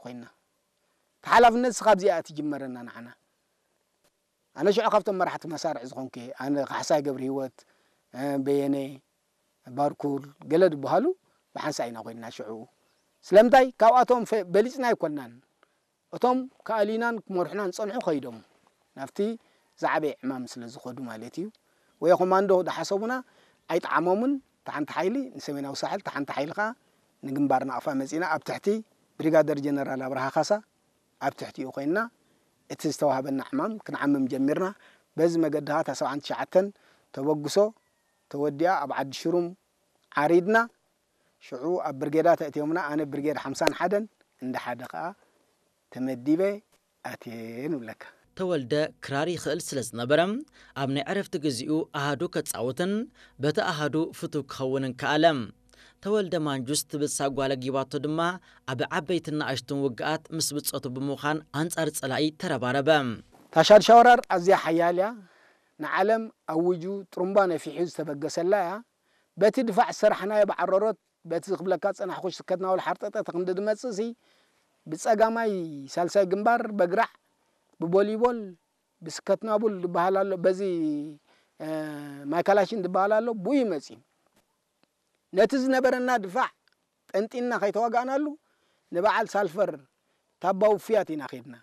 ኮይና። ተሓላፍነት ስኻብ ዚኣ ትጅመረና ንዓና። ኣነ ሽዑ ካብቶም መራሕቲ መሳርዕ ዝኾንኩ እየ። ኣነ ካሕሳይ ገብረ ህይወት፣ በየነ፣ ባርኩል፣ ገለ ዝበሃሉ ብሓንሳ ኢና ኮይንና ሽዑ። ስለምንታይ? ካብኣቶም በሊፅና ኣይኮንናን። እቶም ከኣልዩናን ክመርሑናን ዝፀንሑ ከይዶም ናብቲ ዝዓበየ ዕማም ስለ ዝኸዱ ማለት እዩ። ወይ ኮማንዶ ዝሓሰቡና ኣይጠዓሞምን። እታ ሓንቲ ሓይሊ ንሰሜናዊ ሳሕል፣ እታ ሓንቲ ሓይሊ ከዓ ንግንባር ናቕፋ መፂና ኣብ ትሕቲ ብሪጋደር ጀነራል ኣብርሃ ካሳ ኣብ ትሕቲኡ ኮይንና እቲ ዝተዋህበና ዕማም ክንዓምም ጀሚርና። በዚ መገዲ ከዓ እታ ሰብዓን ትሽዓተን ተበግሶ ተወዲኣ ኣብ ዓዲ ሽሩም ዓሪድና። ሽዑ ኣብ ብርጌዳት ኣእትዮምና። ኣነ ብርጌድ ሓምሳን ሓደን እንዳ ሓደ ከዓ ተመዲበ ኣትየ ንብለካ። ተወልደ ክራር ይኽእል ስለ ዝነበረ ኣብ ናይ ዕረፍቲ ግዚኡ ኣሃዱ ከጻውትን በቲ ኣሃዱ ፍቱው ክኸውንን ከኣለ። ተወልደ ማንጁስ ትብል ሳጓ ለጊባቶ ድማ ኣብ ዓበይትን ንኣሽቱን ውግኣት ምስ ብጾቱ ብምዃን ኣንጻር ጸላኢ ተረባረበ። ታሻድ ሻወራር ኣዝያ ሓያል እያ። ንዓለም ኣውጁ ጥሩምባ ነፊሑ ዝተበገሰላ እያ። በቲ ድፋዕ ዝሰራሕናዮ ብዓረሮት በቲ ክብለካ ዝጸናሕኩ ስከትናቡል ሓርጠጠ ክንዲ ዝመጽእ ሲ ብጸጋማይ ሳልሳይ ግንባር በግራዕ ብቦሊቦል ብስከትናቡል ዝበሃል ኣሎ በዚ ማይካላሽን ዝበሃል ኣሎ ብኡ ይመጽ እዩ። ነቲ ዝነበረና ድፋዕ ጠንጢንና ከይተዋጋእናሉ ንበዓል ሳልፈር ታባ ውፍያት ኢና ከድና።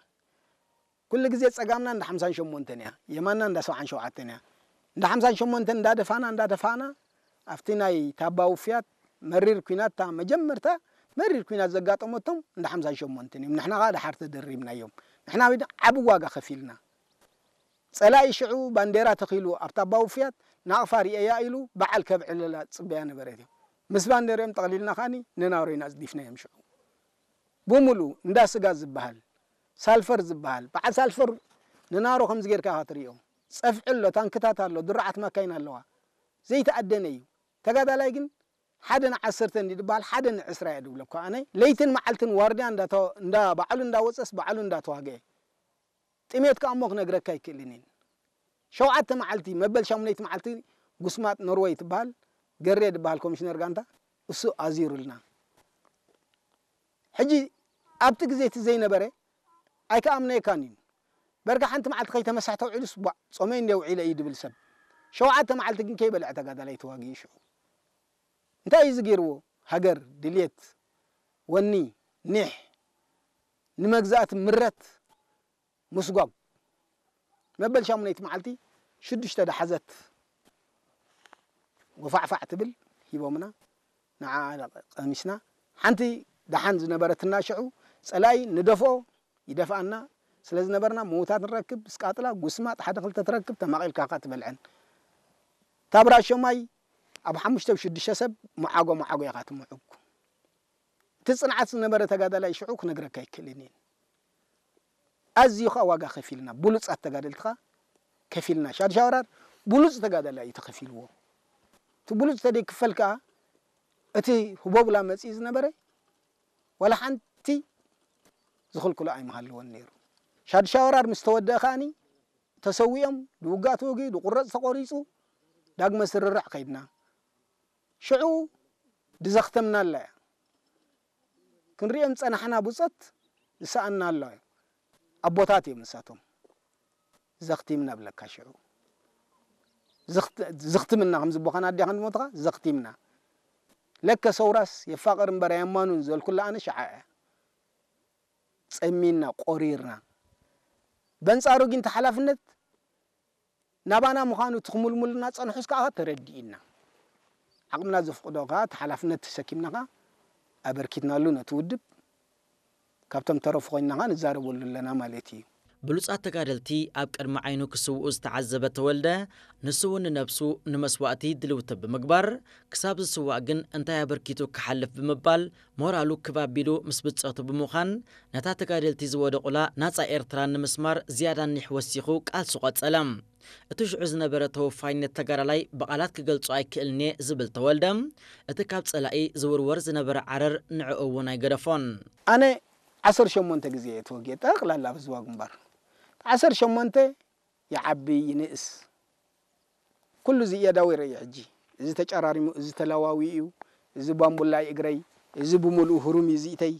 ኩሉ ግዜ ጸጋምና እንዳ ሓምሳን ሸሞንተን እያ፣ የማንና እንዳ ሰብዓን ሸውዓተን እያ። እንዳ ሓምሳን ሸሞንተን እንዳደፋና እንዳደፋና ኣብቲ ናይ ታባ ውፍያት መሪር ኲናት እታ መጀመርታ መሪር ኲናት ዘጋጠመቶም እንዳ ሓምሳን ሸሞንተን እዮም። ንሕና ከዓ ደሓር ተደሪብናዮም። ንሕና ዓቢ ዋጋ ከፊልና። ጸላኢ ሽዑ ባንዴራ ተኺሉ ኣብ ታባ ውፍያት ናቕፋ ርእየያ ኢሉ በዓል ከብዕለላ ዝጽበያ ነበረት እዮም። ምስ ባንዴርኦም ጠቕሊልና ከኣኒ ንናሮ ኢና ኣጽዲፍናዮም ሽዑ። ብሙሉ እንዳ ስጋ ዝበሃል ሳልፈር ዝበሃል በዓል ሳልፈር ንናሮ ከምዚ ጌርካ ኢኻ ትርእዮ። ጸፍዒ ኣሎ፣ ታንክታት ኣሎ፣ ድሩዓት ማካይን ኣለዋ። ዘይተኣደነ እዩ። ተጋዳላይ ግን ሓደ ንዓሰርተ እንዲ ዝበሃል ሓደ ንዕስራ እየ ድብለካ ኣነ። ለይትን መዓልትን ዋርድያ እንዳ ባዕሉ እንዳወፀስ ባዕሉ እንዳተዋግአ። ጥሜት ከኣ እሞ ክነግረካ ኣይክእልን እየ። ሸውዓተ መዓልቲ መበል ሻሙነይቲ መዓልቲ ጉስማጥ ኖርወይ ትበሃል ገሬ ዝበሃል ኮሚሽነር ጋንታ እሱ ኣዚሩልና። ሕጂ ኣብቲ ግዜ እቲ ዘይነበረ ኣይከኣምነየካን እዩ። በርካ ሓንቲ መዓልቲ ከይተመሳሕ ተውዒሉስ ቧዕ ጾመይ እንደ ውዒለ እዩ ድብል ሰብ። ሸውዓተ መዓልቲ ግን ከይበልዐ ተጋዳላይ ተዋጊኡ ሽዑ። እንታይ እዩ ዝገይርዎ? ሃገር፣ ድልየት፣ ወኒ፣ ኒሕ፣ ንመግዛእቲ ምረት፣ ምስጓግ። መበል ሻሙነይቲ መዓልቲ ሽዱሽተ ደሓዘት ወፋዕፋዕ ትብል ሂቦምና። ንዓ ቀሚስና። ሓንቲ ደሓን ዝነበረትና ሽዑ ጸላኢ ንደፍኦ ይደፍኣና ስለ ዝነበርና ምዉታት ንረክብ፣ ስቃጥላ፣ ጉስማጥ ሓደ ክልተ ትረክብ፣ ተማቒልካ ከኣ ትበልዐን። ታብራ ሸማይ ኣብ ሓሙሽተ ሽዱሽተ ሰብ መዓጎ መዓጎ ኢኻ ትምዕጉ። እቲ ጽንዓት ዝነበረ ተጋዳላይ ሽዑ ክነግረካ ኣይክእልን እየ። ኣዝዩ ኸኣ ዋጋ ከፊልና፣ ብሉጻት ተጋደልቲ ኸኣ ከፊልና። ሻድሻ ወራር ብሉጽ ተጋዳላይ እዩ ተኸፊልዎ። እቲ ብሉጽ ተደይክፈል ከኣ እቲ ህቦብላ መጺኡ ዝነበረ ዋላ ሓንቲ ዝኽልክሎ ኣይምሃለዎን ነይሩ። ሻድሻ ወራር ምስ ተወደአ ከኣኒ ተሰዊኦም፣ ድውጋእ ተወጊኡ፣ ድቑረጽ ተቖሪጹ፣ ዳግመ ስርርዕ ከይድና። ሽዑ ድዘኽተምናላ እያ። ክንሪኦም ዝጸናሕና ብጾት ዝሰኣንናላ እዩ። ኣቦታት እዮም ንሳቶም። ዘኽቲምና ብለካ ሽዑ። ዝኽት-፣ ዝኽትምና ከም ዝቦኻን ኣዴኻን ዝሞትኻ ዘኽቲምና። ለከ ሰውራስ የፋቕር እምበር ኣየማኑን ዘልኩላ ኣነ ሽዓ እያ። ጸሚና፣ ቆሪርና። በንጻሩ ግን እቲ ሓላፍነት ናባና ምዃኑ እቲ ክምልሙልና ጸንሑስ ከኣ ተረዲእና። ዓቕምና ዘፍቅዶ ከኣ እቲ ሓላፍነት ተሰኪምና ከኣ ኣበርኪትናሉ ነቲ ውድብ። ካብቶም ተረፉ ኮይንና ከኣ ንዛረበሉ ኣለና ማለት እዩ። ብሉጻት ተጋደልቲ ኣብ ቅድሚ ዓይኑ ክስውኡ ዝተዓዘበ ተወልደ፣ ንሱ እውን ንነብሱ ንመስዋእቲ ድልውቲ ብምግባር፣ ክሳብ ዝስዋእ ግን እንታይ ኣበርኪቱ ክሓልፍ ብምባል ሞራሉ ክብ ኣቢሉ ምስ ብጾቱ ብምዃን፣ ነታ ተጋደልቲ ዝወደቑላ ናጻ ኤርትራ ንምስማር ዝያዳ ኒሕ ወሲኹ ቃልሱ ቀጸለ። እቲ ሽዑ ዝነበረ ተወፋይነት ተጋዳላይ ብቓላት ክገልጾ ኣይክእልን እየ ዝብል ተወልደ፣ እቲ ካብ ጸላኢ ዝውርወር ዝነበረ ዓረር ንዕኡ እውን ኣይገደፎን። ኣነ ዓሰርተ ሸሞንተ ግዜ እየ ተወጊኤ ጠቕላላ ኣብ ህዝባዊ ግንባር። ዓሰርተ ሸሞንተ ይዓቢ ይንእስ ኩሉ እዚ እየ ዳዊረ እየ ሕጂ። እዚ ተጨራሪሙ፣ እዚ ተላዋዊ እዩ፣ እዚ ባምቡላ እዩ እግረይ፣ እዚ ብምሉኡ ህሩም እዩ ዝኢተይ።